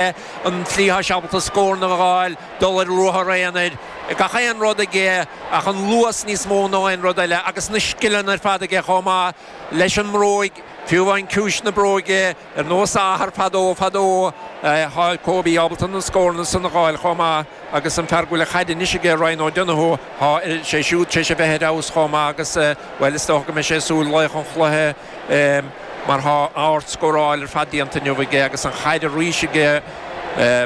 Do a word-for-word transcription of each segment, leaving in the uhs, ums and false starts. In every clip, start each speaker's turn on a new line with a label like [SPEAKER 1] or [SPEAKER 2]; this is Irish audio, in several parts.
[SPEAKER 1] An tslí atá sé ábalta scóranna a fháil, dul ar ruathar aonair, gach aon rud aige ach an luas níos mó ná aon rud eile agus na scileanna ar fad aige chomh maith leis an mbróig, fiú amháin ciumhais na bróige, ar nós a athar fadó fadó. Tá Kobe ábalta na scóranna san a fháil chomh maith agus an fear go bhfuil an chaid anois aige, Ryan O'Donoghue, tá sé siúd tar éis a bheith ar fheabhas chomh maith agus, bhuel, is dócha go mbeidh sé ag súil laoch an chluiche. Mar tá ardscóráil ar fad déanta inniu aige agus an chaid arís aige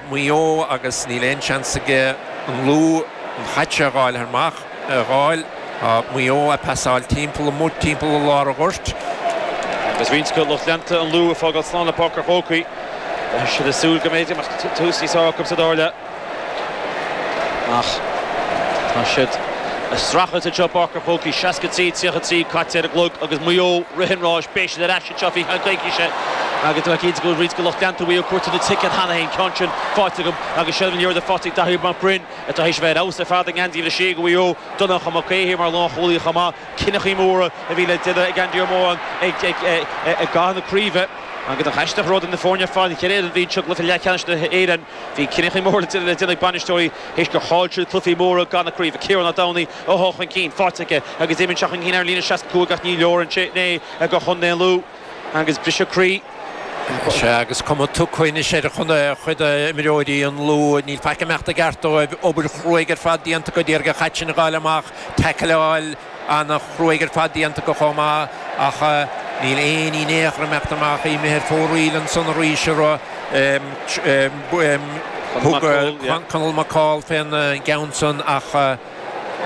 [SPEAKER 1] Maigh Eo agus níl aon seans aige an Lú an chaid seo a dh'fháil amach, a dh'fháil. Tá Maigh Eo ag pasáil timpeall amuigh timpeall i lár an ghoirt.
[SPEAKER 2] Agus roinnt de lucht leanta an Lú ag fágáil slán le Páirc an Chrócaigh. Beidh siad ag súil go mb'fhéidir go mbeadh tús níos fearr acu sa dara leath. Ach tá siad ag streachailt anseo i bPáirc an Chrócaigh, seasca trí, tríocha trí caite ar an gclog agus Maigh Eo ag rith an ráis. Beidh siad ar ais anseo faoi cheann coicíse agus tá mé cinnte go bhfuil roinnt de lucht leanta Mhaigh Eo ag cuartú na ticéad cheana féin. Ceann sin faighte acu agus seilbh na liathróide faighte ag Daithí Mac Broin atá théis a bheith ar fheabhas ar fad i ngeansaí uimhir a sé do Mhaigh Eo. Donncha Mac Aodha mar lánchúlaí chomh maith. Cinneadh móra a bhí le déanamh ag Andy Ó Móráin i gcaitheamh na craoibhe. Agus nach aisteach an rud é na foirne ar fad, an cheithre fhoireann a bhí anseo i gcluiche leathcheannais na hÉireann, bhí cinneadh mór le déanamh ag bainisteoirí théis gur chaill siad cluichí móra gan na craoibhe. Ciarán Ó Domhnaigh atá chun cinn, faighte aige agus imíonn sé chun cinn ar an líne seasca cúig ach ní leor ansin é do chontae an Lú agus briseadh croí.
[SPEAKER 1] Sea, agus cuma tugtha anois ar chuid d'imreoirí an Lú. Níl faic ag imeacht i gceart dóibh. Obair chruaidh ar fad déanta acu d'iarraidh an chaid sin a dh'fháil amach, taicleáil. An-chruaidh ar fad déanta acu chomh maith ach níl aon ní in aon chor ag imeacht amach. Imithe ar fóraoil ansan arís a raibh thug Conall McCall fén gceann san ach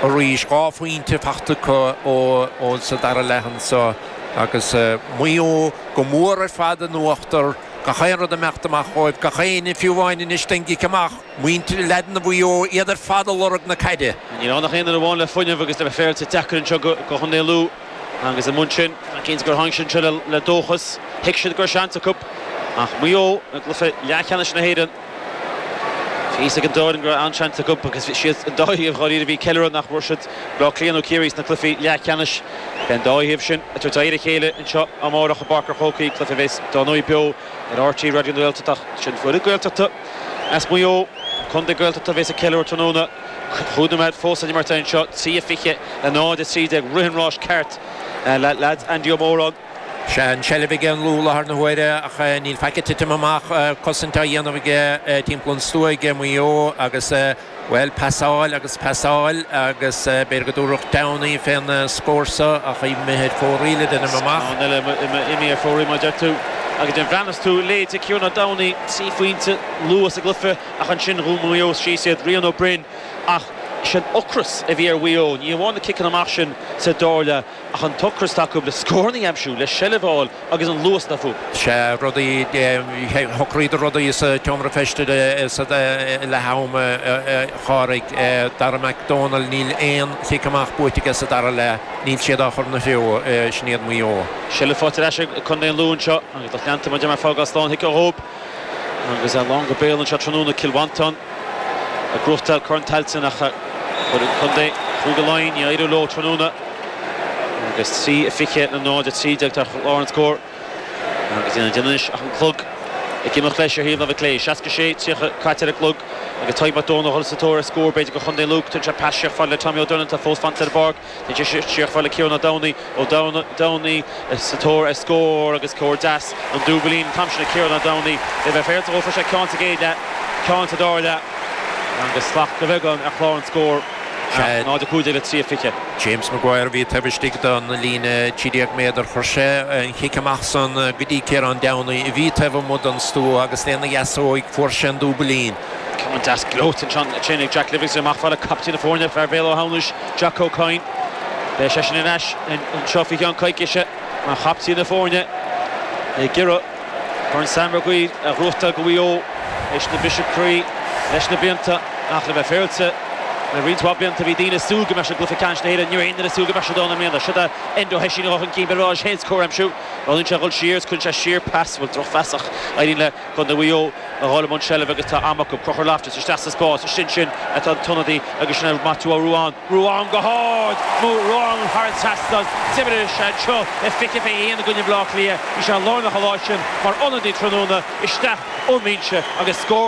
[SPEAKER 1] arís dhá phointe fachta acu ó sa dara leath anso agus Maigh Eo go mór ar fad in uachtar. Gach aon rud ag imeacht amach dhóibh, gach éinne, fiú amháin anois don gcic amach, muintir leaideanna Mhaigh Eo, iad ar fad ag lorg na caide.
[SPEAKER 2] Níl ann ach aon duine amháin le fuinneamh agus le bheith féaráilte deacair anseo do Chontae Lú agus i mbun sin, cinnte gur tháinig siad anseo le dóchas. Thuig siad go raibh seans acu ach Maigh Eo i gcluiche leathcheannais na hÉireann. Bhí a fhios ag an dá fhoireann go raibh an-seans acu agus bhí siad an dá thaobh dháiríre a bhí ag ceiliúradh nach bhfuair siad Bleá Cliath nó Ciarraí sna cluichí leathcheannais. Beidh an dá thaobh sin ag tabhairt aghaidh ar a chéile anseo amárach i bPáirc an Chrócaigh, cluiche a bheas dár ndóigh beo ar RTÉ Raidió na Gaeltachta ach sin foireann Gaeltachta as Maigh Eo, contae Gaeltachta a bheas ag ceiliúradh tráthnóna. Cúig nóiméad fós le imirt anseo, trí a fiche le náid a trí déag, rith an ráis ceart le leaids Andy Ó Móráin.
[SPEAKER 1] Sea, an tseilbh ag an Lú i láthair na huaire ach níl faic ag titim amach, cosaint á dhéanamh aige timpeall an stua ag Maigh Eo agus, bhuel, pasáil agus pasáil agus b'fhéidir go dtabharfadh Downey fén scór so ach imithe ar fóraoil a deinim amach.
[SPEAKER 2] Ceann eile imithe ar fóraoil mar a deir tú. Agus nuair a bhreathnas tú leithéidí Ciarán Ó Domhnaigh, trí phointe luath sa gcluiche ach ansin dhún Maigh Eo síos iad, Rian Ó Broin ach is é an ocras a bhí ar Mhaigh Eo, ní amháin na ciceanna amach sin sa dara leath, Ach an t-ocras atá acu le scóranna a aimsiú, le seilbh a fháil agus an luas atá fúthu.
[SPEAKER 1] Sea, rudaí, shocraíodar rudaí sa tseomra feistis sa leath am, a Pháraic. Dara Mac Dónaill, níl aon chic amach buaite aige sa dara leath, níl siad á chur ina threo, sin iad Maigh Eo.
[SPEAKER 2] Seilbh faighte ar ais ag contae an Lú anseo agus lucht leanta mar a deir mé ag fágáil slán thiocfadh dhóibh agus é lán go béal anseo tráthnóna. Cill Mhantáin ag gnóthachtáil Corn Tailteann ach chuir an contae Chúige Laighean, ní éireoidh leo tráthnóna. Agus trí a fiche le náid a trí déag ar chlár an scóir. Agus níl le déanamh anois ach an clog ag imeacht leis ar thaobh na láimhe clé. Seasca sé, tríocha caite ar an gclog agus Tadhg Mac Dónaill a dhul sa tóir ar scór b'fhéidir do chontae an Lú. Tugann sé pas siar fad le Tommy Ó Doirnín atá fós fanta ar an bpáirc. Téann sé siar fad le Ciarán Ó Domhnaigh. Ó Domhnaigh sa tóir ar scór agus scór deas an dúbailín an t-am sin ag Ciarán Ó Domhnaigh. Le bheith féaráilte dhó fuair sé ceann sa gcéad leath, ceann sa dara leath agus slacht de bheagán ar chlár an scóir. náid a cúig déag le trí a fiche.
[SPEAKER 1] James Maguire a bhí taobh istigh den líne trí déag méadar. Chuir sé an chic amach san go dtí Ciarán Downey a bhí taobh amuigh den stua agus lena dheasóig fuair sé an dúbailín.
[SPEAKER 2] Ceann deas gleoite ansin ag Jack Livingston amach fad le captaen na foirne, fear Bhéal Átha hAmhnais, Jack O'Coin. Beidh seisean ar ais anseo faoi cheann coicíse mar chaptaen na foirne ag iarraidh Corn Sam Maguire a ghnóthachtáil do Mhaigh Eo théis na briseadh croí leis na blianta ach le bheith féaráilte Na roinnt blianta bhí daoine ag súil go mbeadh cluiche ceannais na hÉireann ní aon súil go mbeadh dona mbliana seo Enda Hessin chun cinn berá héins chóimsiú Roinn sé dhul siar chun sé siar pas bhfuil drochphas ach éiríonn le Contae Mhaigh Eo a dháil an seilbh agus tá am acu Conchúr Loftus isteach sa spás sin sin atá tonadaí agus sin Matthew Ruan Ruan go hard mú Ruan thar trasnán Timir sé seo le fiche fiche haon i gcoinne Bhleá Cliath bhí sé lárnach lá sin mar ionadaí tráthnóna isteach ón mbinse agus scór